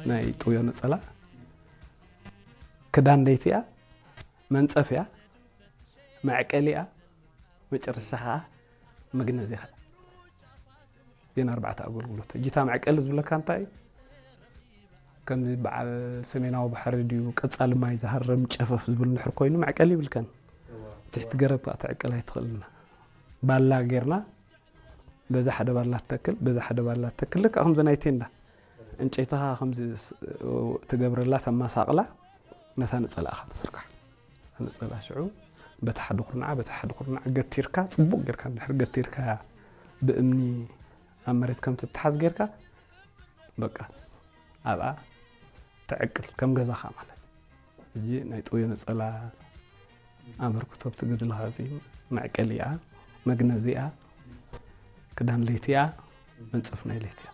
ናይ ጥውዮ ነጸላ ክዳን ለይቲ እያ፣ መንጸፍ እያ፣ መዕቀሊ እያ፣ መጨረሻ ከዓ መግነዚ እያ። እዚን ኣርባዕተ ኣገልግሎት። ጅታ መዕቀሊ ዝብለካ እንታይ እዩ? ከምዚ በዓል ሰሜናዊ ባሕሪ ድዩ፣ ቀጻሊ ማይ ዝሃርም ጨፈፍ ዝብል እንድሕር ኮይኑ መዕቀሊ ይብልከን። ትሕቲ ገረብ ከዓ ትዕቅል ኣይትኽእልና። ባላ ጌርና በዛ ሓደ ባላ ትተክል፣ በዛ ሓደ ባላ ትተክል። ልክዕ ከምዚ ናይ ቴንዳ። ዕንጨይትኻ ከምዚ ስ-፣ ትገብረላ፣ ተመሳቕላ፣ ነታ ነጸላእኻ ትዝርጋሕ። ነጸላ ሽዑ በታ ሓደ ኩርናዓ፣ በታ ሓደ ኩርናዓ ገቲርካ፣ ጽቡቕ ጌርካ እንድሕር ገቲርካያ፣ ብእምኒ ኣብ መሬት ከም ትተሓዝ ጌርካ፣ በቃ፣ ኣብኣ ትዕቅል፣ ከም ገዛኻ ማለት። ሕጂ ናይ ጥውዮ ነጸላ ኣበርክቶ ኣብቲ ገድልኻ እዚ መዕቀሊ እያ፣ መግነዚ እያ፣ ክዳን ለይቲ እያ፣ መንጸፍ ናይ ለይቲ እያ።